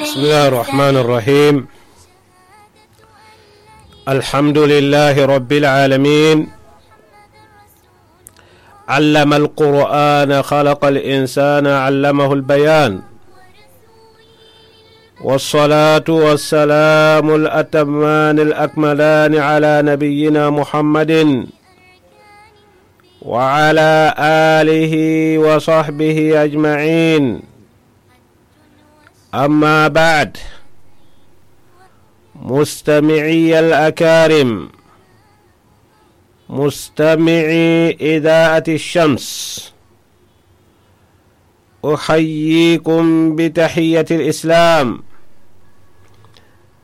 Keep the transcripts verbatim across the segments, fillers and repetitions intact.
بسم الله الرحمن الرحيم. الحمد لله رب العالمين. علم القرآن، خلق الإنسان، علمه البيان. والصلاة والسلام الأتمان الأكملان على نبينا محمد وعلى آله وصحبه أجمعين. أما بعد، مستمعي الأكارم، مستمعي إذاعة الشمس، أحييكم بتحية الإسلام،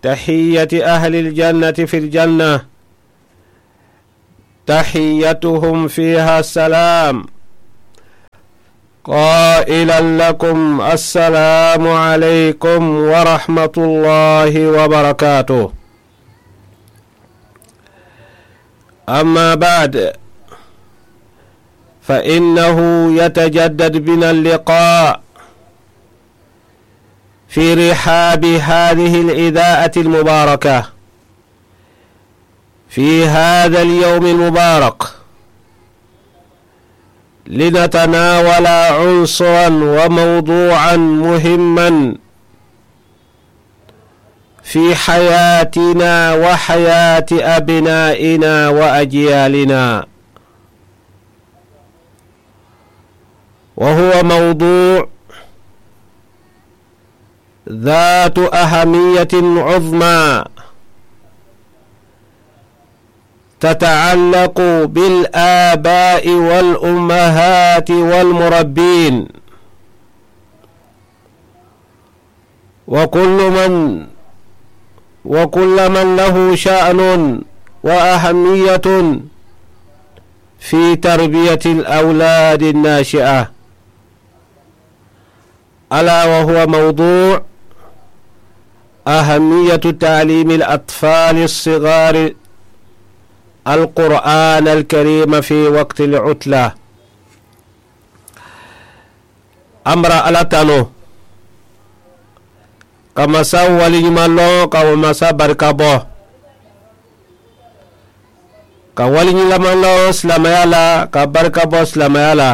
تحية أهل الجنة في الجنة، تحيتهم فيها السلام، قائلا لكم: السلام عليكم ورحمة الله وبركاته. أما بعد، فإنه يتجدد بنا اللقاء في رحاب هذه الإذاعة المباركة في هذا اليوم المبارك، لنتناول عنصرا وموضوعا مهما في حياتنا وحياة أبنائنا وأجيالنا، وهو موضوع ذات أهمية عظمى تتعلق بالآباء والأمهات والمربين، وكل من، وكل من له شأن وأهمية في تربية الأولاد الناشئة، ألا وهو موضوع أهمية تعليم الأطفال الصغار القرآن الكريم في وقت العطلة. An bara Alla tanu, ka masa waliɲuman loŋ, ka masa barika bo, ka waliɲuman loŋ silaamaya la, ka barika bo silaamaya la,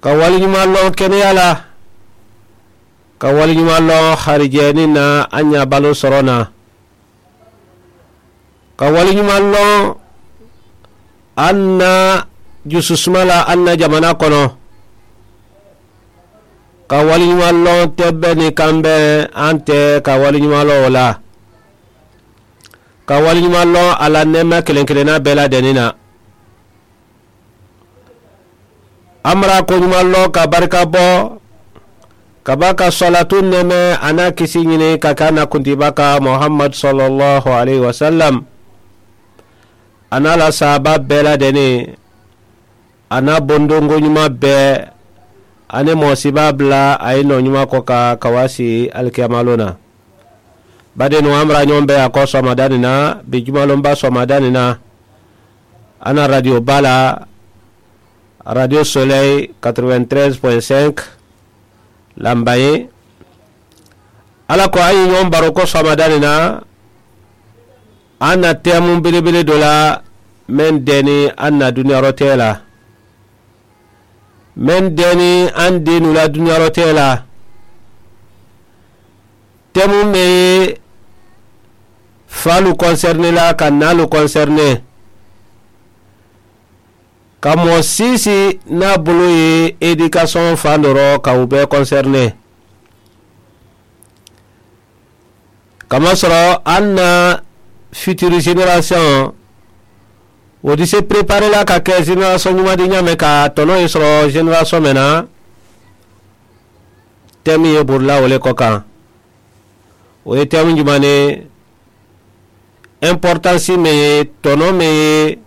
ka waliɲuman loŋ keneya la, ka waliɲuman loŋ harijeenin na, a ɲaabaloo soroŋ na, ka waliɲuman loŋ an na jususuma la, an na jamana kono, ka waliɲuman loŋ tebbe ni kambe, an te ka waliɲuman loŋ wo la, ka waliɲuman loŋ a la neema keleŋ kelenna bee la deni na. An bara koɲuman loŋ ka barika bo, ka ba ka salatu neme a na kisi ɲini ka ka na kuntiba ka Muhammad sallallahu alaihi wasallam, a na la saaba bee la deni, a na bondongo ɲuman bee, a ni moosiba bula a ye noo ɲuman ko ka ka waasi alikiyamaaloo na. Badenu an bara ɲoŋ be a ko soomadaani na, bi jumalonba soomadaani na, a na radiyo baa la, radiyo soleil quatre-vingt-treize point cinq, lanbayi. Alla ko a ye ɲoŋ baro ko soomadaani na, a na teemu belebele do la, meŋ deeni a na duniyaaroo tee la, meŋ deeni an deenuu la duniyaaroo tee la, teemu meŋ ye faalu konserine la ka naalu konserine, ka moo siisi naa bulu ye edikasiyoŋ fandoro ka u bee konserine. Kamasɔrɔ an na futuru zenerasiyoŋ, wo di se perepaare la ka ke zenerasiyoŋ ɲuman di ɲaame ka tɔnɔ ye sɔrɔ zenerasiyoŋ meŋ na, temu ye buru la wo le ko kaŋ. Wo ye temu juman ne? Enporotansi meŋ ye, tɔnɔ meŋ ye,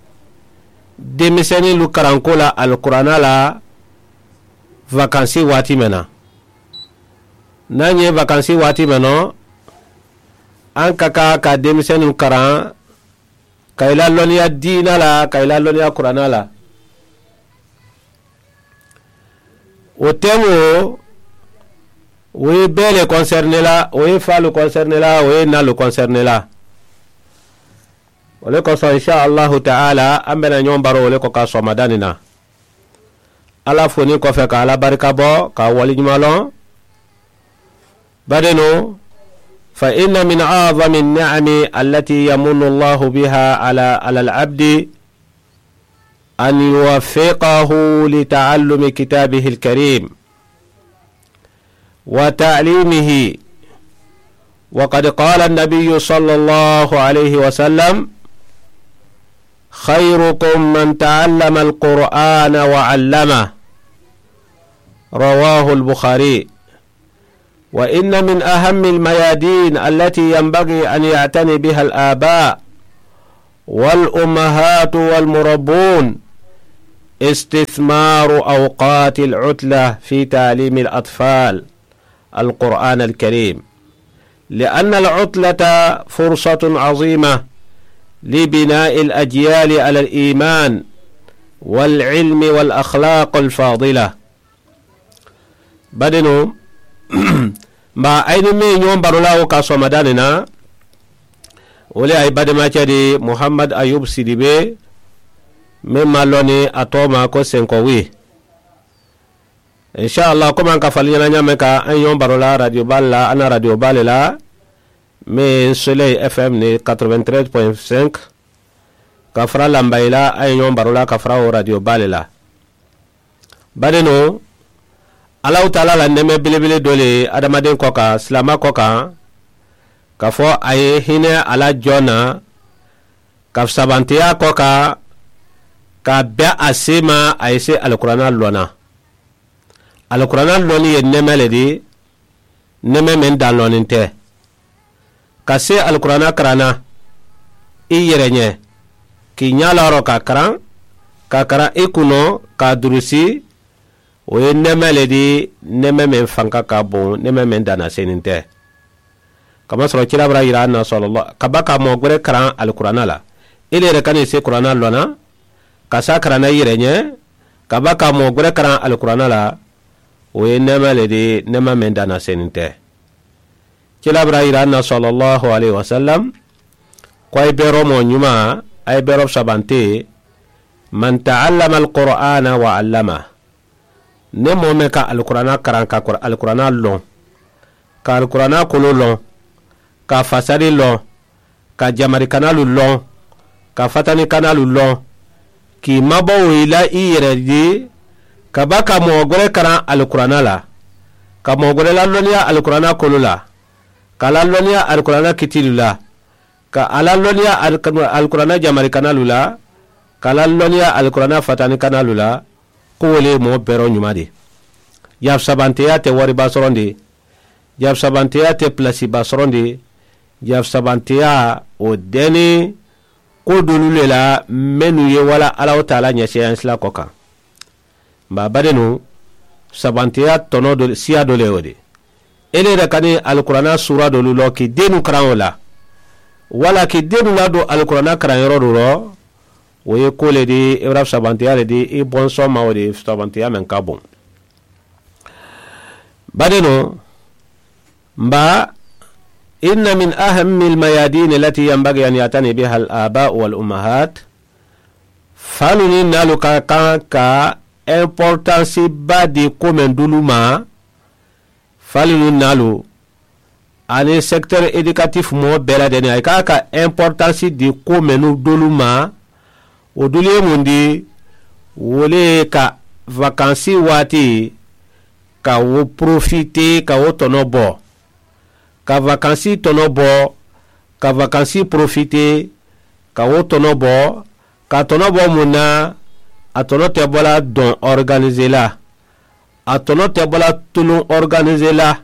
demisenilu karanko la alikuraana la, vakansi waati meŋ na. Niŋ a ɲe vakansi waati meŋ nɔ, an ka ka ka demisenilu karaŋ, ka i la loniya diina la, ka i la loniya kuraana la. Wo temu wo O ye bee le konsɛrine la, o ye faalu konsɛrine la, o ye naalu konsɛrine la. O le kosɔn insa allahu taala an bɛna ɲɔgɔn baro o le ko ka sɔmadaani na. Ala foni kɔfɛ ka ala barika bɔ ka waliɲuman lɔn. Badenu, fa inna min a'zami ni'ami allati yamunnu allahu biha ala ala al-abdi an yuwaffiqahu li ta'allumi kitabihi al-karim wa ta'limihi. Wa qad qala an-nabiyyu sallallahu alayhi wa sallam, khayrukum man ta'allama al-qur'ana wa 'allama. Rawahu al-bukhari. Wa inna min ahammi al-mayadin allati yanbaghi an ya'tani biha al-aba wal-ummahatu wal-murabbun istithmaru awqati al-utla fi ta'limi al-atfal al-qur'an al-karim. Li'anna al-utlata fursatun azima li bina'i al-ajyali ala al-iman wal-ilmi wal-akhlaq al-fadila. Badenu, mba a ye ni meŋ ye ɲoŋ baro la wo ka sɔmadaani na, wo le a ye bademacɛ di muhammad ayub sidibe meŋ ma lɔni a tooma ko senkowi. Insa allah komi an ka fali ɲana ɲaame ka a ye ɲoŋ baro la radio baa le la a na radio baa le la meŋ ye n soleil fm ni quatre-vingt-treize point cinq ka fara lanbayi la a ye ɲoŋ baro la ka fara wo radio baa le la. Badenu, allahu taala la nɛɛmɛ belebele dɔ le ye adamaden kɔ kan silaama kɔ kan, ka fɔ a ye hinɛ a la jɔn na, ka sabanteya kɔ kan, ka bɛn a se ma a ye se alikuranna lɔn na. Alikuranna lɔnni ye nɛɛmɛ le di, nɛɛmɛ meŋ daŋ lɔnni tɛ. Ka se alikuranna karan na i yɛrɛ ɲɛ, k'i ɲɛ lɔrɔ ka karan, ka karan i kunnɔ, k'a durusi, wo ye nɛɛmɛ le di, nɛɛmɛ meŋ fanka ka boŋ, nɛɛmɛ meŋ daŋ na seeni tɛ. Kamasɔrɔ kira bara yira an na sɔlɔlɔ ka ba ka mɔgɔ gɛrɛ karan alikuranna la, i le yɛrɛ ka n'i se kuranna lɔn na, ka se a karanna i yɛrɛ ɲɛ, ka ba ka mɔgɔ gɛrɛ karan alikuranna la, wo ye nɛɛma le di, nɛɛma meŋ daŋ na seeni tɛ. Kira bara yira an na sɔlɔlɔhu alayhi wasalam, ko a ye beeroo moo ɲumaa, a ye beeroo sabante, man ta'allama alqur'ana wa allama. Ne moo meŋ ka alikuranaa karaŋ, ka alikuranaa loŋ, ka alikuranaa koloo loŋ, ka a fasari loŋ, ka jamarikanaalu loŋ, ka fatanikanaalu loŋ, k'i maboo i la i yere di, ka ba ka moo gure karaŋ alikuranaa la, ka moo gure lalonniya alikuranaa koloo la, ka a lalonniya alikuranaa kitiilu la, ka a lalonniya alikuranaa jamarikanaalu la, ka a lalonniya alikuranaa fatanikanaalu la. Ko wo le ye moo beeroo ɲumaa de. Jaafu sabanteyaa te wariba sorondi. Jaafu sabanteyaa te palaasiba sorondi. Jaafu sabanteyaa, wo deni ko doolu le la mennu ye wala allahu taala ɲɛseeyaŋ sila ko kaŋ. Mba badenu, sabanteyaa tonoo do siya do le wo de. I le da kani alikuranaa suura doolu loo k'i deenu karaŋo la, walla k'i deenu la do alikuranaa karaŋ yoro do loo. Wo ye ko le di i bara sabanteyaa le di i bonsoŋ ma wo di sabanteyaa meŋ ka boŋ. Badenu, mba inna min ahammi almayadini allati yanbagi an yatani biha alaba wal ummahat. Faalu niŋ naalu ka kaŋ ka importansi ba di ko meŋ dulu ma. Faalu niŋ naalu aniŋ sekiteeri edikatif moo bee la deni a ye ka a ka importansi di ko mennu dolu ma. Wo dulu ye muŋ di? Wo le ye ka vakansi waati ka wo porofite ka wo tono bo, ka vakansi tono bo, ka vakansi porofite ka wo tono bo. Ka a tono bo muŋ na? A tono te bo la doŋ ɔriganize la. A tono te bo la tuluŋ ɔriganize la.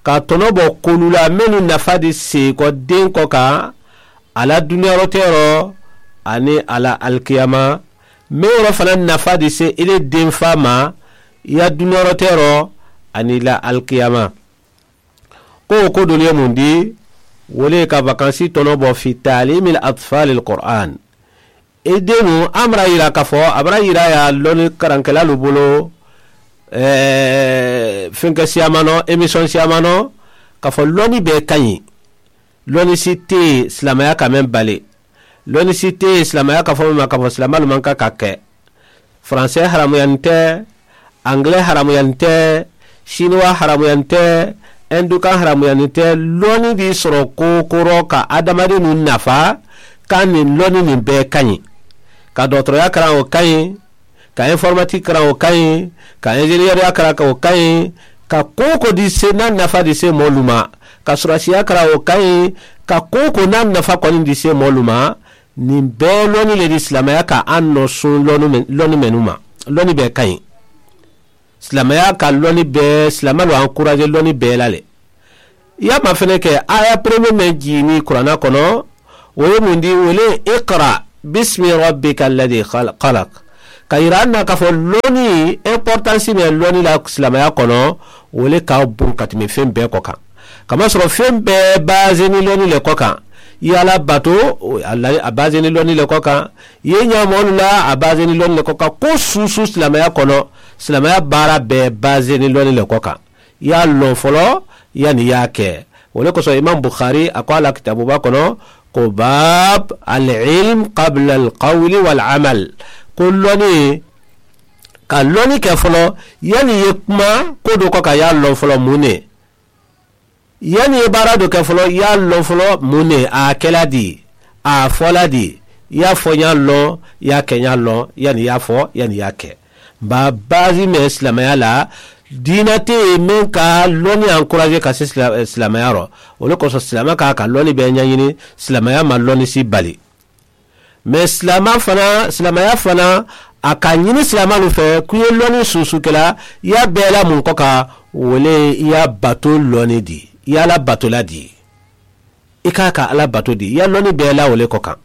Ka a tono bo koolu la mennu nafa di seekɔ denkɔ kaŋ, a la duniyaroteeroo aniŋ a la alikiyama. Meŋ yoro fanaŋ nafa di se i le denfaa ma, i la duniyaroteeroo aniŋ i la alikiyama. Ko wo ko doolu ye muŋ di? Wo le ye ka vakansi tono bo fi taalimil atfalil qur'an. I deenu a mara yira ka fo a bara yira ye a loni karankelaalu bolo. Ɛɛ, fenkɛ siyaamanɔ, emisiyoŋ siyaamanɔ, ka fɔ lɔnni bɛɛ ka ɲi. Lɔnni si tɛ yen silamɛya ka meŋ bali. Lɔnni si tɛ yen silamɛya ka fɔ meŋ ma ka fɔ silamɛlu maŋ ka ka kɛ. Faransɛ haramuyani tɛ, angilɛ haramuyani tɛ, siniwa haramuyani tɛ, ɛndukan haramuyani tɛ. Lɔnni b'i sɔrɔ kokorɔ ka adamadennu nafa. Ka nin lɔnni nin bɛɛ ka ɲi. Ka dɔgɔtɔrɔya kalan, o ka ɲi. Ka informatique kalan, o ka ɲi. Ka ingénieur ya kalan, o ka ɲi. Ka ko o ko di se n'a nafa di se mɔlu ma. Ka sɔrɔsiya kalan, o ka ɲi. Ka ko o ko n'a nafa kɔni di se mɔlu ma. Nin bɛɛ lɔnni le di silamɛya ka an nɔ sun lɔnni mennu ma. Lɔnni bɛɛ ka ɲi. Silamɛya ka lɔnni bɛɛ, silamɛlu encourager lɔnni bɛɛ la le. I y'a ma fɛnɛ kɛ, aya premier mɛ jiginni kurana kɔnɔ, o ye mun di? O le ye ikra bismi rabbika alladhi khalaq. Ka yira an na k'a fɔ lɔnni, importance bɛ lɔnni la silamɛya kɔnɔ, o le ka bon ka tɛmɛ fɛn bɛɛ kɔ kan. Kamasɔrɔ fɛn bɛɛ basé ni lɔnni le kɔ kan. I ye Ala bato, a basé ni lɔnni le kɔ kan. I ye ɲaamɔlu la, a basé ni lɔnni le kɔ kan. Ko susu silamɛya kɔnɔ, silamɛya baara bɛɛ basé ni lɔnni le kɔ kan. I y'a lɔn fɔlɔ, yanni i y'a kɛ. O le kosɔn, Imam Bukhari, a ko a la kitabuba kɔnɔ, ko, bab al-ilm qabla al-qawli wal-amal, ko lɔnni, ka lɔnni kɛ fɔlɔ, yanni i ye kuma ko dɔ kɔ kan, i y'a lɔn fɔlɔ, mun ne? Yanni i ye baara dɔ kɛ fɔlɔ, i y'a lɔn fɔlɔ, mun ne? A kɛla di? A fɔla di? I y'a fɔ, n y'a lɔn, i y'a kɛ, n y'a lɔn, yanni i y'a fɔ, yanni i y'a kɛ. Ba, base mɛ silamɛya la, diinɛ tɛ yen min ka lɔnni encourager ka se sila-, silamɛya rɔ. O de kosɔn, silamɛ ka, ka lɔnni bɛɛ ɲɛɲini, silamɛya ma lɔnni si bali. Mais silamɛ fana, silamɛya fana, a ka ɲini silamɛlu fɛ, k'u ye lɔnni susukɛla, i y'a bɛɛ la mun kɔ kan, o le ye i y'a bato lɔnni di, i y'a la batola di. I k'a ka Ala bato di, i y'a lɔnni bɛɛ la o le kɔ kan.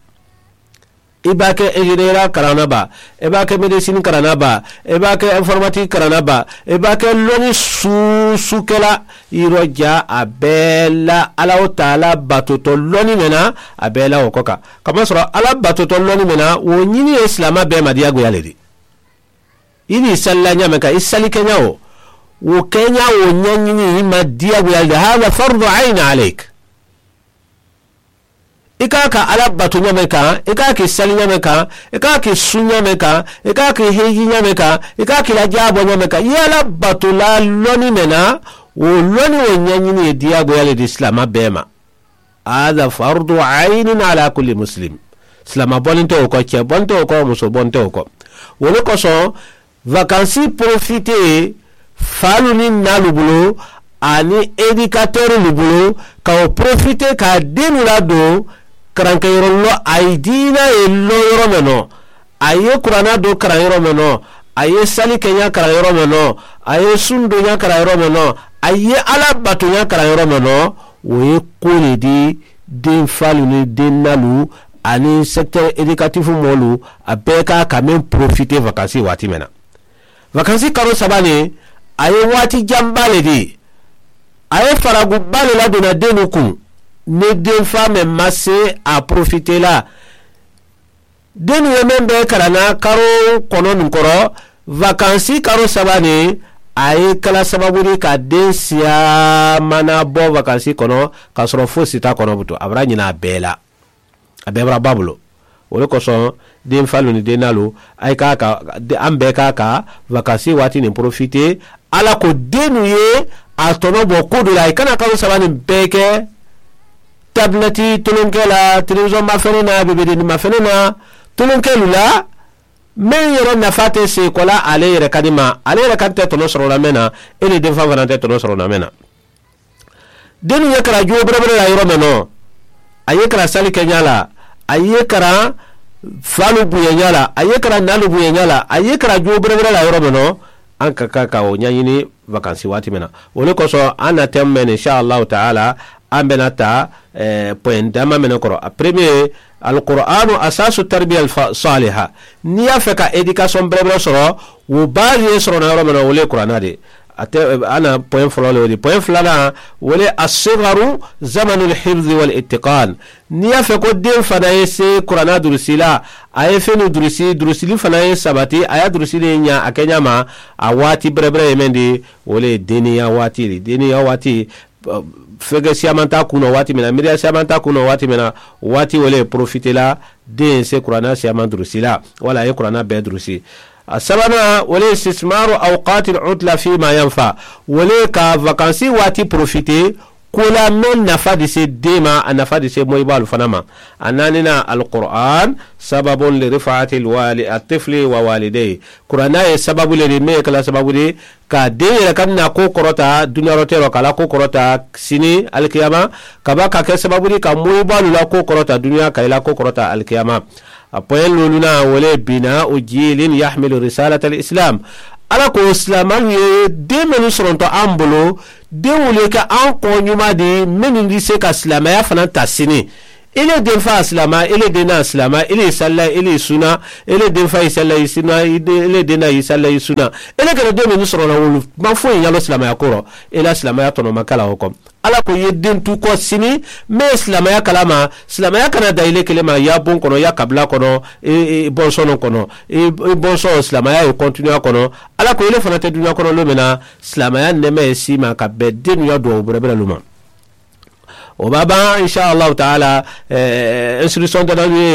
I b'a kɛ ingénieur kalanna ba, i b'a kɛ médecine kalanna ba, i b'a kɛ informatique kalanna ba, i b'a kɛ lɔnni susukɛla, i yɔrɔ ja a bɛɛ la, Alahu taala batotɔ lɔnni mɛnna a bɛɛ la o kɔ kan. Kamasɔrɔ Ala batotɔ lɔnni mɛnna, o ɲini ye silamɛ bɛɛ ma diyagoya le di. I n'i salila ɲa mɛn kan, i salikɛɲa o, o kɛɲa o ɲɛɲini i ma diyagoya le di. Hada fardu ayni aleyk. I k'a ka Ala bato ɲa mɛn kan, i k'a k'i sali ɲa mɛn kan, i k'a k'i sun ɲa mɛn kan, i k'a k'i hiji ɲa mɛn kan, i k'a k'i la jaabɔ ɲa mɛn kan, i ye Ala batola lɔnni mɛn na, o lɔnni o ɲɛɲini ye diyagoya le di silamɛ bɛɛ ma. Hada fardu ayni ala kulli muslim. Silamɛ bɔnnen tɛ o kɔ, cɛ bɔnnen tɛ o kɔ, muso bɔnnen tɛ o kɔ. O le kosɔn, vacances profiter falu ni nalu bolo ani éducateurs lu bolo, ka o profiter ka denw ladon karankɛyɔrɔ lɔ, a ye diina ye lɔ yɔrɔ mɛn nɔ, a ye kurana don karan yɔrɔ mɛn nɔ, a ye sali kɛɲa karan yɔrɔ mɛn nɔ, a ye sun donya karan yɔrɔ mɛn nɔ, a ye Ala batonya karan yɔrɔ mɛn nɔ, o ye ko le di den falu ni den nalu ani secteur éducatif mɔlu, a bɛɛ ka, ka meŋ profiter vacances waati mɛn na. Vacances kalo saba nin, a ye waati janba le di. A ye faraguba le ladonna dennu kun, ni denfa mɛ ma se a profiter la. Dennu ye meŋ bɛ kalan na kalo kɔnɔ nin kɔrɔ, vacances kalo saba nin, a ye kɛla sababu di ka den siya mana bɔ vacances kɔnɔ, ka sɔrɔ fosi t'a kɔnɔ butu, a bara ɲinɛ a bɛɛ la. A bɛɛ bara ba bolo. O de kosɔn, den falu ni den nalu, a ye k'a ka, an bɛɛ k'a ka vacances waati nin profiter, Ala ko denw ye a tɔnɔ bɔ ko dɔ la, i kana kalo saba nin bɛɛ kɛ tablette tulonkɛ la, télévision mafɛnɛ na, bebedennin mafɛnɛ na, tulonkɛlu la, min yɛrɛ nafa tɛ se kɔ la ale yɛrɛ kadi ma, ale yɛrɛ kadi tɛ tɔnɔ sɔrɔ la min na, e ni denfa fana tɛ tɔnɔ sɔrɔ la min na. Denw ye kara jo bɛrɛbɛrɛ la yɔrɔ min nɔ, a ye kara sali kɛ ɲa la, a ye kara falu bonya ɲa la, a ye kara nalu bonya ɲa la, a ye kara jo bɛrɛbɛrɛ la yɔrɔ min nɔ, an ka kan ka o ɲɛɲini vacances waati min na. O de kosɔn, an na thème mɛn, insha Allahu taala, an bɛna ta, ɛɛ, point dama mɛnɛ kɔrɔ. A premier, alqur'anu asasu tarbiya saliha. N'i y'a fɛ ka éducation bɛrɛbɛrɛ sɔrɔ, o base ye sɔrɔ na yɔrɔ min na, o le ye kuranɛ de ye. A te a na poyin fɔlɔ le wo di poyin filanan wo le asigaru zamanu lhibzi wal itikan. Niŋ i ye a fee ko deŋ fanaa ye see kuranaa durusi la a ye fenu durusi durusili fanaa ye sabati a ye a durusi le ñaa a ke ñaama. A waati berebere ye meŋ di wo le ye deeniyaa waati le deeniyaa waati. Feke siyaamantaa kunnoo waati meŋ na miiriyaa siyaamantaa kunnoo waati meŋ na waati wo le ye porofite la. Deŋ ye see kuranaa siyaaman durusi la walla a ye kuranaa bee durusi. A sabanaa wo le ye sisimaaro awukaati lutla fiimaa yanfa wo le ye ka a vakansi waati porofite. Koolaa meŋ nafa di see deemaa a nafa di see moyibaalu fanaa ma. A naani naa alikuran sababun lirifaati lwaali atifili wa waalideyi. Kuranaa ye sababu le di meŋ ye kala sababu di ka a deŋ yere ka a na koo korotaa duniyaa roteeroo ka a la koo korotaa sini alikiyaama. Ka ba ka ke sababu di ka moyibaalu la koo korotaa duniyaa ka i la koo korotaa alikiyaama. A poyin luulunaa wo le ye binaa u jiilin yahmilu risaalata alisilaam. Alla ko silaamaalu ye deemennu soronto aŋ bulu deŋolu ye ke aŋ koo ñumaa di mennu di se ka silaamaya fanaa taa sini. I le deŋ faa silaama i le deŋ naa silaama i le ye salla i le ye suna. I le deŋ faa ye salla ye suna i le deŋ naa ye salla ye suna. I le kele deemennu soronto wolu maŋ foyi ñaalo silaamaya koro. I la silaamaya tono maŋ kala wo ko. Alla ko i ye dentu ko sini meŋ ye silaamaya kalaama. Silaamaya kana daa i le kele ma i ye a boŋ kono i ye a kabila kono i bonsono kono. I bonsono silaamaya ye kontiniya kono. Alla ko i le fanaa te duniyaa kono lume na silaamaya neema ye sii ma ka beŋ denuyaa duwawu berebere lu ma. Wo be a baŋ insa allahu taala. Insirisiyonte damalu ye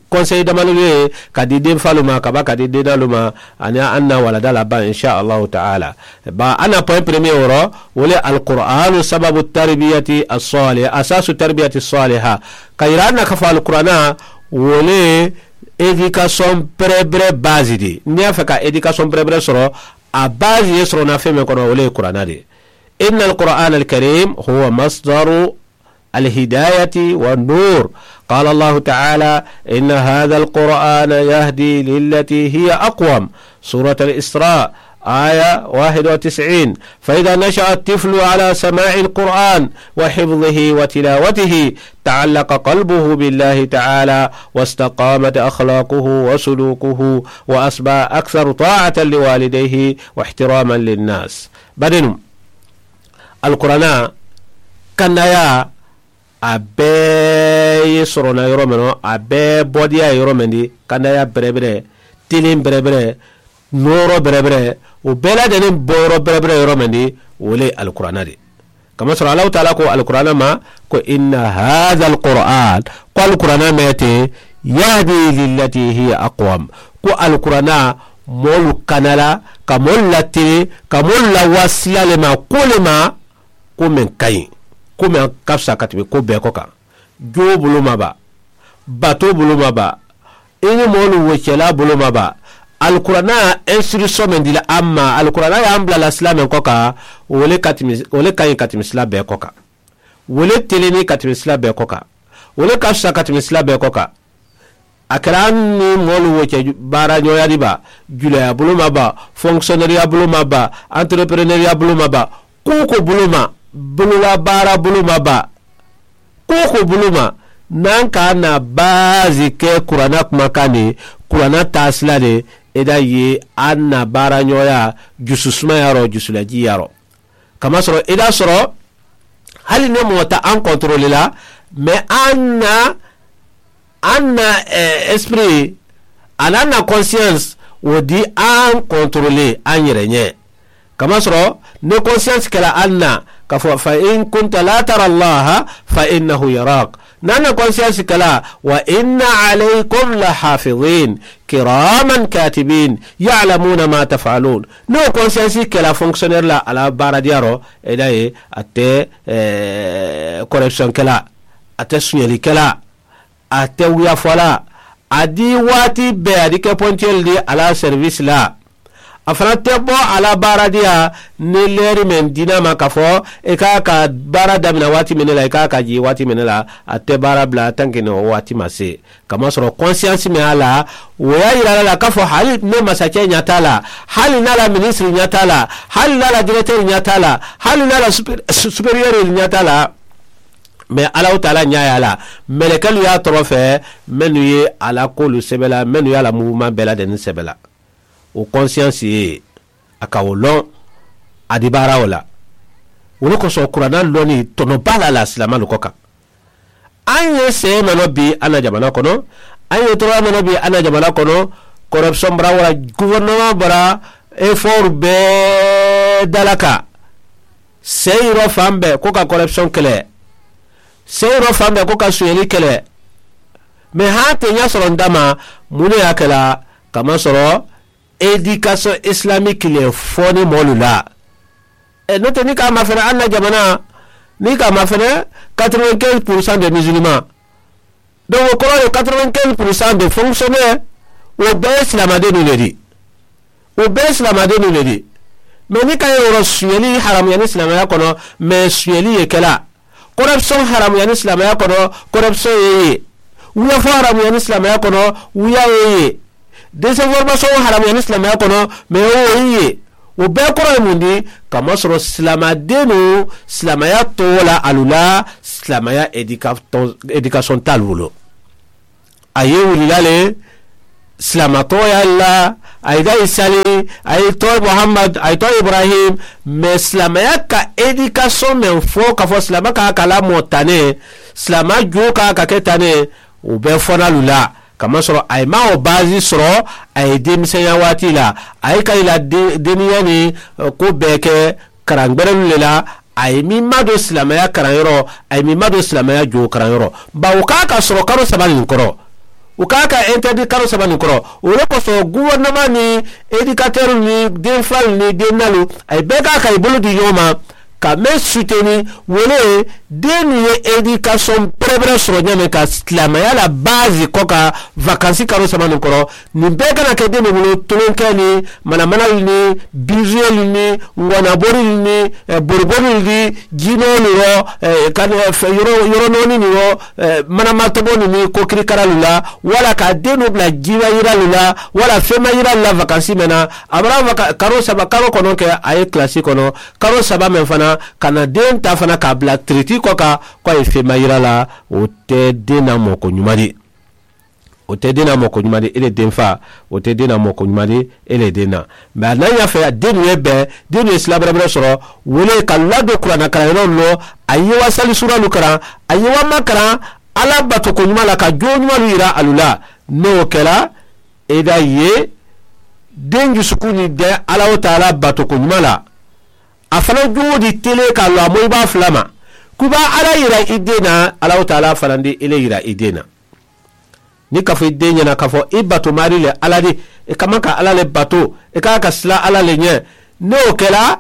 konseyi damalu ye ka di denfaalu ma ka ba ka di deenaalu ma. Aniŋ a na wala dala baŋ insa allahu taala. Ba a na poyin peremiye woro wo le alkur'anu sababu taribiyati asaliha asasu taribiyati saliha. Ka yira a na ka fo alkur'ana wo le edikasiyoŋ berebere baazi di niŋ i ye a fee ka edikasiyoŋ berebere soro. A baazi ye soro na feŋ meŋ kono wo le ye kur'ana di. Inna alkur'ana alkarim huwa masdaru alhidayati wa nur. Qala allahu taala inna hadha alkur'ana yahdi lillati hiya aqwam. Surat alisra aya wahid wa tis'in. Fa idha nasha'a altiflu ala sama'i alkur'an wa hifdhihi wa tilawatihi ta'allaqa qalbuhu billahi taala wa istaqamat akhlaquhu wa sulukuhu wa asbaha aktharu ta'atan liwalidayhi wa ihtiraman linnas. Badenu alkurana kannayaa a bee ye sorona yoro meŋ no a bee bodiyaa ye yoro meŋ di kannayaa berebere tiliŋ berebere nooro berebere wo bee la deniŋ boyoro berebere yoro meŋ di wo le ye alkurana di. Kamasoro allahu taala ko alkurana ma ko inna hadha alkurana ko alkurana meŋ ye te yahdi lillati hiya aqwam. Ko alkurana moolu kana la ka moolu latiri ka moolu lawasila le ma ko le ma ko meŋ kayi ko meŋ kafisa ka teme ko bee ko kaŋ. Joo bulu ma ba batoo bulu ma ba i ni moolu wo cela bulu ma ba. Alkurana ye instruction meŋ di la amma alkurana ye a mbula la sila meŋ ko kaŋ wo le kayi ka teme sila bee ko kaŋ. Wo le teleni ka teme sila bee ko kaŋ. Wo le kafisa ka teme sila bee ko kaŋ. A kera ni moolu wo ke baarañooyaadi ba juleya buluma ba fonkisioneriya buluma ba anterepereneriya buluma ba kuuku buluma bulula baara buluma ba kuuku buluma. Naŋ ka na baazi ke kurana kuma kaŋ de kurana taasila de i da ye a na baarañooya jusu sumayaro jusula jiiyaro. Kamasoro i da soro hali ne moo ta an kontrole la mais an na an na esprit a na an na conscience wo di an kontrole an yere ñe. Kamasoro ne conscience kela an na ka fo fa in kunta la tara allaha fa innahu yarak. Nanna conscience kala wa inna alaykum la hafidin kiraman katibin yalamuna ma tafalun. No conscience kala fonctionnaire la ala baradiyaro edaye ate corruption kala ate suñeli kala ate wuya fola adi wati be adi ke poncel di ala service la. A fanaŋ te bo a la baaradiya ni leeri meŋ diina ma ka fo i ka ka baara damina waati mene la i ka ka jii waati mene la. A te baara bila tanki ni waati ma se kamasoro konsiyansi meŋ a la wo ye a yira la la ka fo hali ne masakɛ ñata la hali na la minisiri ñata la hali na la direteeri ñata la hali na la superiyeri ñata la. Mais alahu taala ñaaya la melekelu ye a toro fe mennu ye a la koolu sebe la mennu ye a la mubumaŋ bee la deni sebe la. Wo konsiyansi ye a ka wo loŋ a dibaarawo la. Wo le koso kuraana loni tono baa la la silaamalu ko kaŋ. Aŋ ye seemanoo bii a na jamana kono, aŋ ye toromanoo bii a na jamana kono. Korepsoŋ bara wara guwerinoma bara eforu bee dalaka. Seyiro faŋ be ko ka korepsoŋ kele. Seyiro faŋ be ko ka suyeli kele. Me haŋ te ña soroŋ dama munu ye a kela kama soro edikasoŋ isilamiki le fo ni moolu la. Noo te niŋ i ka a mafene anna jamana niŋ i ka a mafene katorowenkensi purusaŋ de mizilimaŋ. Donku wo koroŋ ye katorowenkensi purusaŋ de fonkisiyone. Wo bee ye silaamadennu le di. Wo bee ye silaamadennu le di. Mee niŋ i ka ye woro suyeli haramuyani silaamaya kono mee suyeli ye kela. Korepsoŋ haramuyani silaamaya kono korepsoŋ ye ye. Wuyafo haramuyani silaamaya kono wuya ye ye. Desenforomasoŋo haramuyani silaamaya kono mee wo wo ye. Wo bee koro ye mundi? Kamasoro silaamadennu silaamaya towo la alu la silaamaya edikasoŋ taalu bulu. A ye wulila le silaama tooyaa la. A ye da isali a ye too muhammad a ye too ibrahim. Mee silaamaya ka edikasoŋ meŋ fo ka fo silaama ka a ka la moo tane silaama juu ka a ka ke tane. Wo be fo naalu la kamasoro a ye maŋ wo baasi soro. A ye deemiseeyaa waati la a ye ka i la deniyaa ni ko bee ke karaŋ gberelu le la. A ye miŋ maŋ do silaamaya karaŋ yoro a ye miŋ maŋ do silaamaya joo karaŋ yoro. Baa wo ka a ka soro karo saba niŋ koro wo ka a ka enterdi karo saba niŋ koro. Wo le koso guwerinoma niŋ edikateerolu niŋ denfaalu niŋ dennaalu a ye bee ka a ka i bulu di ñoo ma ka meŋ suteni wo le ye. Dennu ye edikasoŋ berebere soro ñaameŋ ka silaamaya la baasi ko ka vakansi karo saba niŋ koro. Niŋ bee kana ke deme bulu tulunkee niŋ manamanalu niŋ biisuyolu niŋ ŋonaborilu niŋ boriborulu niŋ jiinoolu ro yoronooni niŋ ro manamatobonu niŋ kokirikaralu la walla ka a denu bula jiimayiralu la walla feemayiralu la vakansi meŋ na. A bara karo saba karo kono ke a ye kilasi kono karo saba meŋ fana ka na den taa fana ka a bula tiriti ko ka ko a ye feemayira la. Wo te den na moo ko ñumadi. Wo te den na moo ko ñumadi i le denfaa. Wo te den na moo ko ñumadi i le den na. Mee a naŋ ñaa fee dennu ye bee dennu ye sila berebere soro. Wo le ka lado kuraana karaŋ yeloo lo a ye wa sali suuralu karaŋ a ye wa ma karaŋ alla bato ko ñuma la ka joo ñumalu yira alu la. Niŋ wo kela i da ye den jusuku niŋ de alla wo taala bato ko ñuma la. A fanaŋ juwo di telee ka a loŋ a moyi baa fula ma ku i be a alla yira i dee na. Alla wo taala fanaŋ di i le yira i dee na. Niŋ ka fo i dee ñaŋ na ka fo i bato maarii le alla di i ka maŋ ka alla le bato i ka a ka sila alla le ñe. Niŋ wo ke la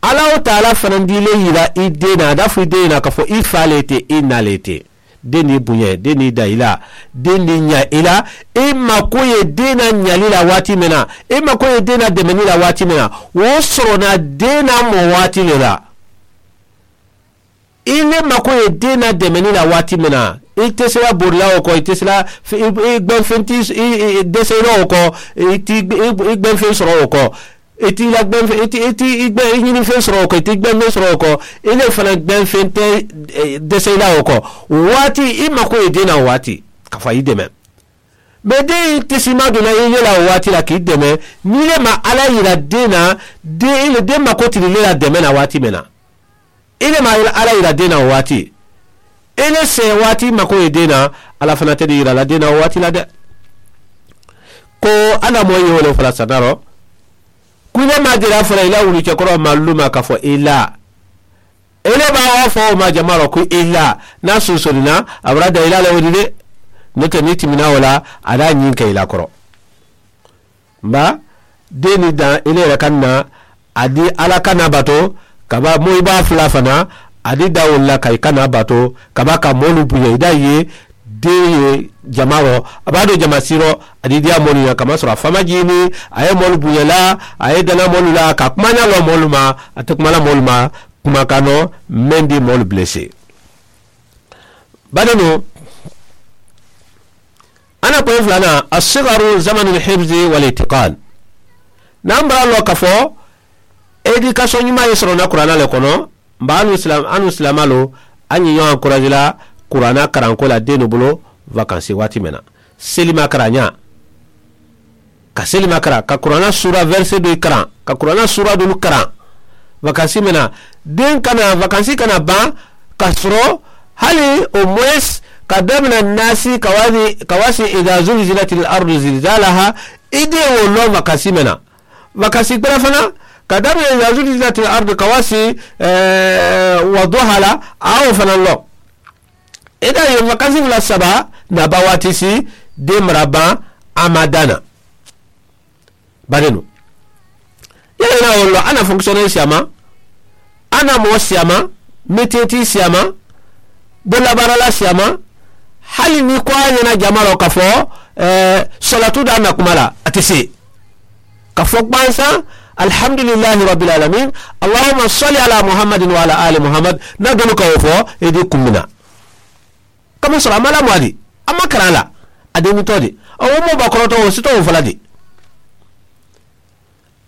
alla wo taala fanaŋ di i le yira i dee na a da fo i dee ñaŋ na ka fo i faa le te i naa le te. Denni buñe denni da i la. Denni ña i la. I mako ye dena ñali la waati mena i mako ye dena demeni la waati mena. Wo soro na dena mo waati le la. I le mako ye dena demeni la waati mena i tesela borila wo ko i tesela i gbenfenti desela wo ko i gbenfen soro wo ko. I ti i la gbenfeŋ i ti i ti i gbe i ñini feŋ soro ko i ti gbenfeŋ soro ko. I le fana gbenfeŋ te dese i la wo ko. Waati i mako ye dena waati ka fa i deme. Be de i ti sima duna i yela waati la ki deme. Ni le ma ala yira dena de i le de mako tiri le la deme na waati mena. I le ma ala yira dena waati. I le se waati mako ye dena. Ala fana te de yira la dena waati la de. Ko adamoo ye wo le fo la sanaro. Ku i le maŋ a je la fo la i la wulu cekoro maŋ luma ka fo i la. I le be a wo fo wo ma jamaa la ku i la. Niŋ a sunsurina a bara da i la le wo di de. Noo te niŋ i timinaa wo la a daa ñiŋ ka i la koro. Mba dee niŋ daŋ i le i la kaŋ na. A di alla kana bato ka ba moyi baa fula fana. A di dawulu la ka i kana bato ka ba ka moolu buña i da ye. Dee ye jama ro a be a do jama siro. A di diya moolu ña kamasoro a fama jiini a ye moolu buña la. A ye dana moolu la ka kuma ña lo moolu ma. A te kuma la moolu ma. Kuma kano meŋ di moolu blessé. Bari no a na koyi fula na a sigaru zamanu hibzi wal itiqal. Niŋ a bara lo ka fo edikaso ñuma ye soro na kurana le kono. Mba anu silamalo a ñiño encourage la kurana karanko la denu bulu vacances waati mena selima karaña. Ka seli ma kara ka kurana sura verse do i kara ka kurana sura dulu kara. Vakansi mena den kana vakansi kana ban ka soro hali o mwes ka damina nasi ka wasi ka wasi ida zulzilat al ardu zilzalaha. I de wo lo vakansi mena vakansi kpera fana ka damina ida zulzilat al ardu ka wasi wa duhala. A wo fana lo. Eda ye vakansi fula saba na ba waati si den mara ban a ma dana. Bari no yala ina wolo ana fonkisiyone siyama ana mo siyama metiyeti siyama bola barala siyama. Hali ni ko a ɲana jama lo ka fo solatu da na kuma la a ti se ka fo kpansa. Alhamdulillahi rabbil alamin. Allahumma salli ala muhammadin wa ala ali muhammad. Na dolu ka wo fo i di kumbina. Kama sɔrɔ a ma lamɔ a di a ma karan la. A denni tɔ di a wo mo ba kɔrɔtɔ wo sitɔ wo fala di.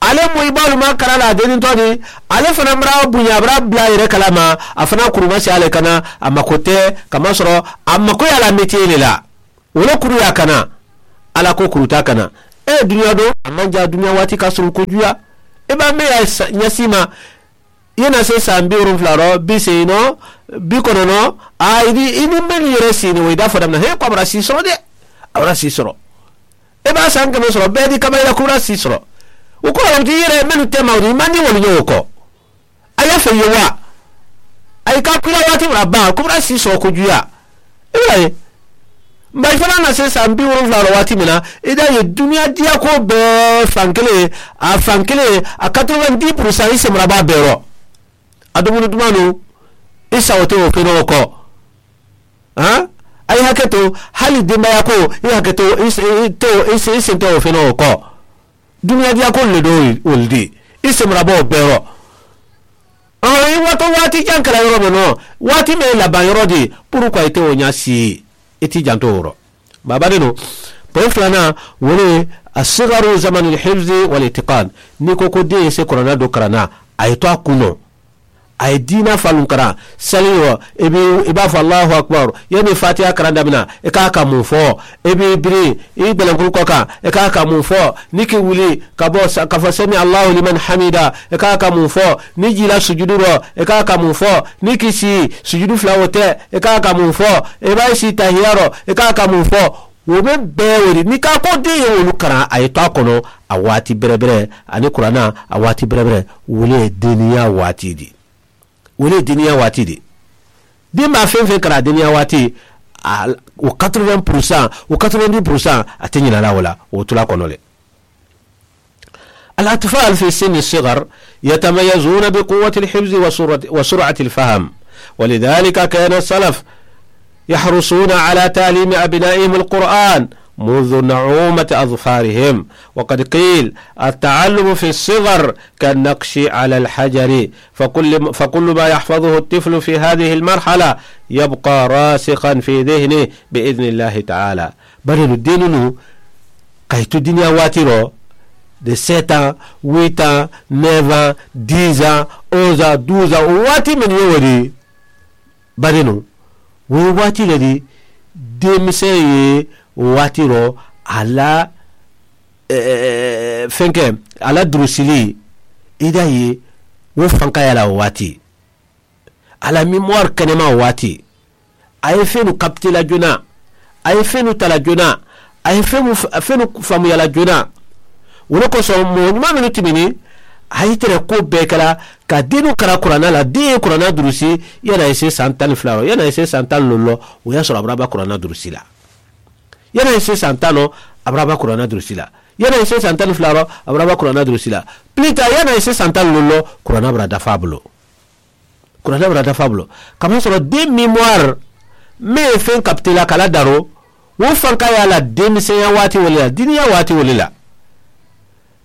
Ale mo i baalu ma karan la a denni tɔ di. Ale fana bara buɲa bara bila yɛrɛ kalama. A fana kuruma si ale kana a mako tɛ kama sɔrɔ a mako y'a la metiye le la. Wala kuru y'a kana ala ko kuruta kana. E duniya don a man ja duniya waati ka surun kojuya. E b'a mɛn y'a ɲɛsi ma. I na se san bi wolonwula rɔ bi se nɔ bi kɔnɔnɔ. Aa i ni mɛn yɛrɛ sen o i da fɔ daminɛ he ko a bara si sɔrɔ dɛ. A bara si sɔrɔ. E b'a san kɛmɛ sɔrɔ bɛɛ di kaba i la ko si sɔrɔ. O ko i yɛrɛ minnu tɛ ma i man di wali ɲɛ o kɔ. A y'a fɛ ye wa? A y'i ka kula waati min na ban ko si sɔrɔ kojuya. I bɛna ye. Nba i fana na se san bi wolonwula la waati min na i da ye duniya diya ko bɛɛ fan kelen a fan kelen a quatre-vingt-dix pour cent i sɛmaba bɛɛ rɔ. A dumuni duman don i sago tɛ o kɛ o kɔ. A ye hakɛ to hali denbaya ko i hakɛ to i sen tɛ o fɛ o kɔ. Dumunikadiyako le don olu de i senmabɔ bɛɛ rɔ. Ɔ i waatɔ waati jan kɛra yɔrɔ min nɔ waati min ye laban yɔrɔ de ye. Pourquoi i tɛ o ɲɛ si ye i t'i janto o rɔ. Baba de don. Point filanan o ye a segaru zamani hifzi wal itiqan. N'i ko ko den ye se kɔrɔna don karan na a ye to a kun nɔ. A ye diina falun karan seli yɔrɔ i b'a fɔ Alahu akibaru. Yanni fatiha karan daminɛ i k'a ka mun fɔ? I b'i biri i bɛlɛnkuru kɔ kan i k'a ka mun fɔ? Ni k'i wuli ka bɔ ka fɔ sami Alahu liman hamida i k'a ka mun fɔ? Ni jila sujudu rɔ i k'a ka mun fɔ? Ni k'i si sujudu fila o tɛ i k'a ka mun fɔ? I b'a si tahiya rɔ i k'a ka mun fɔ? Wo bɛ bɛɛ wele n'i k'a ko den ye wolo karan a ye to a kɔnɔ. A waati bɛrɛbrɛ ani kuranna a waati bɛrɛbrɛ wele ye denya waati de. O le ye deniya waati de. Den b'a fɛn fɛn kɛra a deniya waati o quatre-vingts pour cent o quatre-vingt-dix pour cent a tɛ ɲinɛ a la o la o tula kɔnɔ dɛ. الأطفال في سن الصغر يتميزون بقوة الحفظ وسرعة الفهم. ولذلك كان السلف يحرصون على تعليم أبنائهم القرآن منذ نعومة أظفارهم. وقد قيل التعلم في الصغر كالنقش على الحجر. فكل ما يحفظه الطفل في هذه المرحلة يبقى راسخا في ذهنه بإذن الله تعالى. Bari denninnu ka i tu duniya waati rɔ de sept ans, huit ans, neuf ans, dix ans, onze ans, douze ans o waati minnu ye o de. Bari o ye waati le di denmisɛn ye o waati rɔ a la. Fenkɛ a la durusili i da ye wo fankaya la o waati. A la mémoire kɛnɛma o waati. A ye fɛnw capter la joona. A ye fɛnw ta la joona. A ye fɛnw faamuya la joona. O le kosɔn mɔgɔ ɲuman minnu tɛmɛnen a y'i tɛrɛ ko bɛɛ kɛra ka denw kalan kuranɛ la. Den ye kuranɛ durusi yanni a ye se san tan ni fila rɔ yanni a ye se san tan ni naani lɔ. O y'a sɔrɔ a bara ba kuranɛ durusi la. Yanni a ye se san tan rɔ a bara ba kuranɛ durusi la. Yanni a ye se san tan ni fila rɔ a bara ba kuranɛ durusi la. Plus tard yanni a ye se san tan ni naani lɔ kuranɛ bara dafa a bolo. Kuranɛ bara dafa a bolo. Kamasɔrɔ den mémoire min ye fɛn capter la k'a la daro o fanka y'a la denmisɛnya waati o le la diniya waati o le la.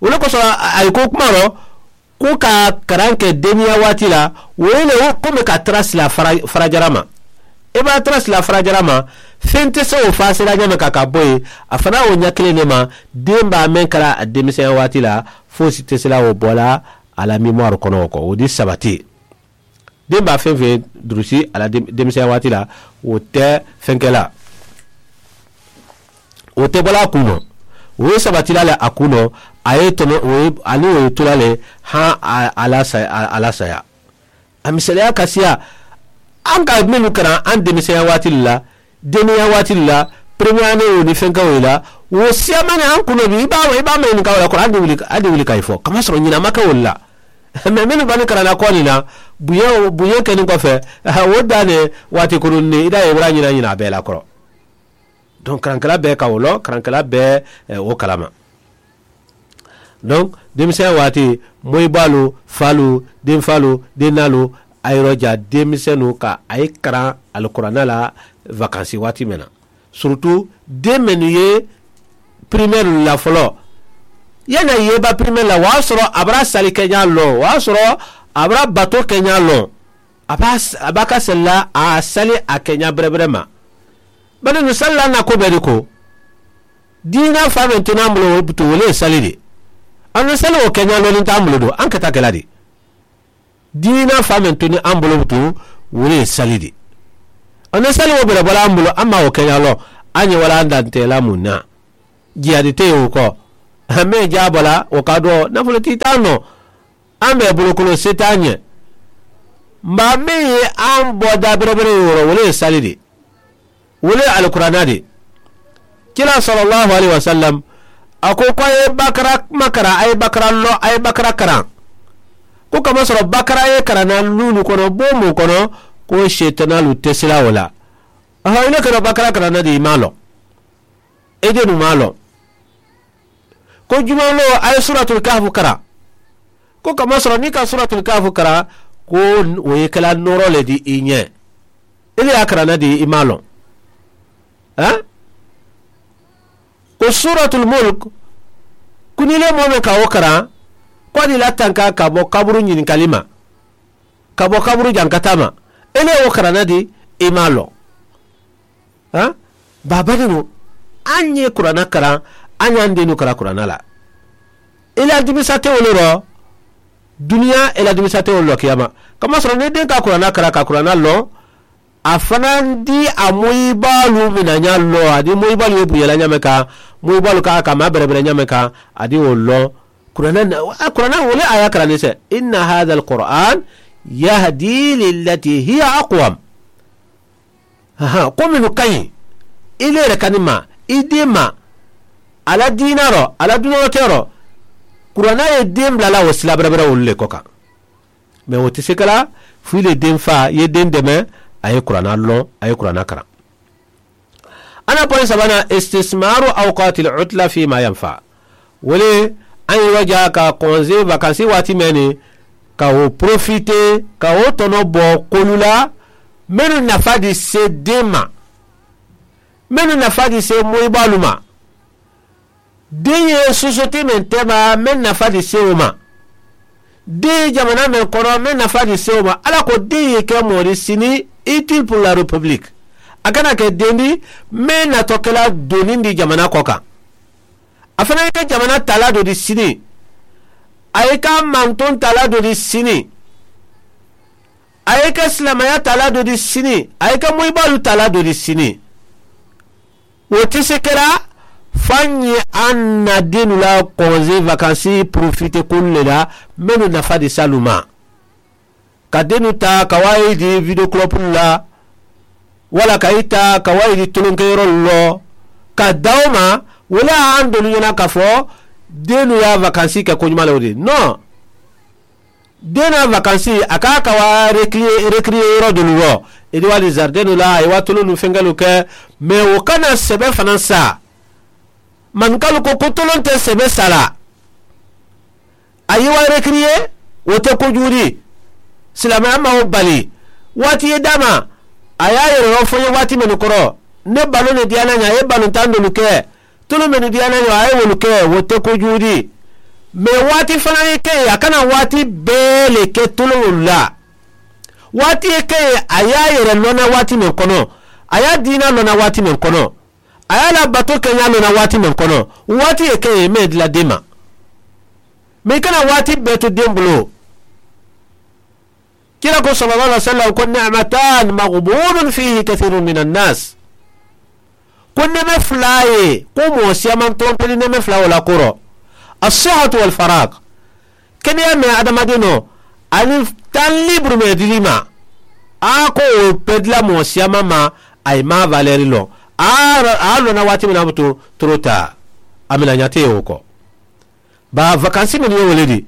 O le kosɔn a ye ko kuma rɔ ko ka karan kɛ denniya waati la o ye le ko bɛ ka tara sila farajara ma. I b'a tara sila farajara ma fɛn tɛ se o fasira ɲɛ mɛn ka ka bɔ yen. A fana o ɲɛ kelen de ma den b'a mɛn kɛra a denmisɛnya waati la. Fosi tɛ sela o bɔ la a la mémoire kɔnɔ o kɔ o di sabati. Den b'a fɛn fɛn durusi a la denmisɛnya waati la o tɛ fɛnkɛ la. O tɛ bɔla a kun ma. Wo ye sabatila le a kuno. A ye tono wo ye, ani wo ye tula le han a la saya. A misaliya kasiya an ka mennu karan an denmisɛnya waati la, denniya waati la, première année wo ni fɛnkɛ wo la, wo siyamani an kuno bi i b'a i b'a mɛn ɲininka wo la kɔrɔ an de wuli ka i fɔ kamasɔrɔ ɲinan ma kɛ wo la. Mais minnu bani karanna kɔ nin na, bonya bonya kɛnin kɔfɛ, o dan ne waati kunun ni i da ye wara ɲinan ɲinan a bɛɛ la kɔrɔ. Donc karankɛla bɛɛ ka o lɔ karankɛla bɛɛ o kalama. Donc denmisɛn waati, moyibaalu, faalu, denfaalu, dennaalu, a yɔrɔ ja denmisɛnnu ka a ye karan alikuranɛ la vacances waati mɛn na, surtout den mennu ye primaire la fɔlɔ, yanni a yeba primaire la o y'a sɔrɔ a bara sali kɛɲa lɔn, o y'a sɔrɔ a bara bato kɛɲa lɔn. A b'a a b'a ka seli la a sali a kɛɲa bɛrɛbɛrɛ ma. Bari nin sali la na ko bɛɛ de ko, diina fa min tunu an bolo o tun wele ye sali de. An na sali o kɛɲa lɔnni t'an bolo don an kɛta kɛla de. Diina fa min tunu an bolo tun wele ye sali de. An na sali o bɛrɛ bɔra an bolo an ma o kɛɲa lɔn. An ye wala an dantɛla mun na? Jihadi tɛ yen o kɔ. An bɛ ja bɔla o ka dɔn nafolo t'i t'an nɔ. An bɛ bolokolo se t'an ɲɛ. Nba min ye an bɔ da bɛrɛbɛrɛ ye wɔrɔ wele ye sali de. Wele alikuranɛ de. Kira salalahu alehi wasalam a ko ko a ye bakara kuma karan a ye bakara lɔ a ye bakara karan. Ko kamasɔrɔ bakara ye karanna lulu kɔnɔ bon mun kɔnɔ, ko sitanalu tɛ sira o la. Ɔhɔ, i ne kɛra bakara karanna de i m'a lɔn. E de dun m'a lɔn. Ko juma lɔ a ye suratul kahfu karan. Ko kamasɔrɔ n'i ka suratul kahfu karan, ko o ye kɛla nɔɔrɔ le di i ɲɛ. E le y'a karanna di i m'a lɔn. Ɛn? Ko suratul mulk, ko n'i le mɔɔ meŋ ka wo karan, ko a di la tanka ka bɔ kaburu ɲininkali ma, ka bɔ kaburu jankata ma. E le ye wo karanna di i m'a lɔn. Baabadiŋo, aŋ ye kurana karaŋ, aŋ ye aŋ deenoo karaŋ kurana la. I la dimisa te wo le rɔ. Duniyaa i la dimisa te wo le rɔ kiyaama. Kamasɔrɔ niŋ i deenka kurana karaŋ ka kurana loŋ, a fanaŋ di a moyibaalu mina ñaa loŋ a di moyibaalu ye buña la ñaameŋ kaŋ, moyibaalu ka a ka maa berebere ñaameŋ kaŋ, a di wo loŋ. Kurana wo le a ye a karaŋ niŋ se, inna haza alquran yahdi lillati hiya aqwam. Ko mennu ka ñiŋ, i leere kani ma, i dee ma, a la diina ro, a la duniyaa keeroo, kurana ye dee bula la wo sila berebere wolu le ko kaŋ. Mais wo te si ke la, fo i le dee faa ye dee deme, a ye kurana loŋ, a ye kurana karaŋ. A na poyi sabaana, istismaru awqatil utla fima yanfa. Wo le, a ye i wajaa ka konze vakansi waati meŋ ni, ka wo porofite, ka wo tono bo kolu la, mennu nafa di se dee ma, mennu nafa di se moyibaalu ma. Dee ye sosiyete meŋ teema mennu nafa di se wo ma, dee ye jamana meŋ kono mennu nafa di se wo ma. Alla ko dee ye ke moo di sini, itil puru la repibiliki. A kana ke dee di meŋ natoo ke la doniŋ di jamana ko kaŋ. A fanaŋ ye ke jamana taalaa doo di sini, a ye ke a mantoŋ taalaa doo di sini, a ye ke silaamaya taalaa doo di sini, a ye ke moyibaalu taalaa doo di sini. Wo te si ke la, fo a ñiŋ a na deennu la konze vakansi porofite kolu le la, mennu nafa di se alu ma. Ka deennu taa ka waayi di videwo kulopulu la, walla ka i taa ka waayi di tolonkeyorolu loo, ka dawoo ma, wo le ye a ntolu ñana ka fo, deennu ye a vakansi ke koñumaa le wo de noo. Deenaa vakansi a ka a ka waa rekiriye rekiriye yoro dolu loo, i di waa di zaridenu la a ye waa tolonnu fenkelu ke. Mais wo kana sebe fanaŋ saa. Mankalu ko ko toloŋ te sebe saa la. A ye waa rekiriye, wo te kujuuri. Silaamaya maŋ wo bali. Waati ye daama, a ye a yere wo fo n ye waati mennu koro, ne baloo ne diyaana ñaa a ye balontaŋ dolu ke. Tulu mennu diyaana ñoo a ye wolu ke wo te kujuudi. Mais waati fanaa ye ke a kana waati bee le ke tuluŋolu la. Waati ye ke a ye a yere lona waati meŋ kono, a ye a diina lona waati meŋ kono, a ye a la bato keñaa lona waati meŋ kono, waati ye ke meŋ ye dila dee ma. Mais i kana waati bee to dee bulu. Kira ko sallallahu alaihi wasallam ko ni'matan maghbunun fihi kathirun min annas. ko neme fula ye ko moo siyaman tompeli neme fula wo la koro. Asihatu wal farak. Keneya me adamadenoo ani tan liburu me dili ma a ko wo pedila moo siyaman ma. A ye maa valeri loŋ a a lona waati mina butu. Turota a mina ñate wo ko. Ba vakansi menu ye wole di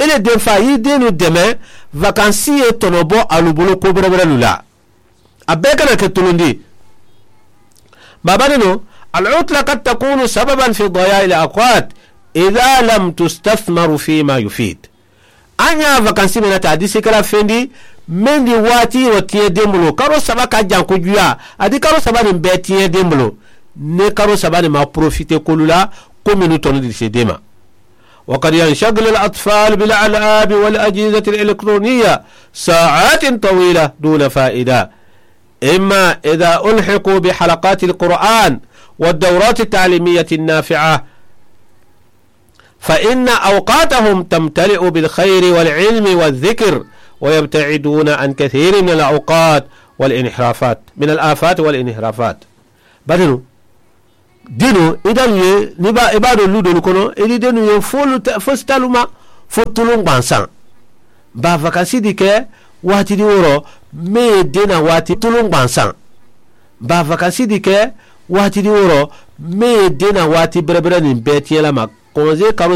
i le denfa yi denu deme. Vakansi ye tonobo alu bulu ko berebere lu la. A bee kana ke tulundi. Baba nenu, al utla kad takunu sababan fi daya il awqat ida lam tustathmaru fima yufid. A ñaa vakansi mena ta a disi kala fendi mendi waati wo tiye dembulu karo saba ka janku juya. A di karo saba ni bee tiye dembulu ne karo saba ni ma profite kolu la. Ko menu tonu disi dema. Wa kad yanshagil al atfal bil al'abi wal ajizati al elektroniya sa'atin tawila duna fa'ida. Imma ida ulhiqu bi halaqati al qur'an wa dawrati al ta'limiyati al nafi'a. Fa inna awqatahum tamtali'u bil khayri wal ilmi wal dhikr wa yabta'iduna an kathiri min al awqat wal inhirafat min al afat wal inhirafat. Badinu dinu i dalu ye ni ba i ba do lu dolu kono i di denu ye fo lu fo sitaluma fo tulun gbansan. Ba vakansi di ke waati di woro me ye dena waati tulun gbansan. Ba vakansi di ke waati di woro me ye dena waati berebere ni bee tiyelama. Konze karo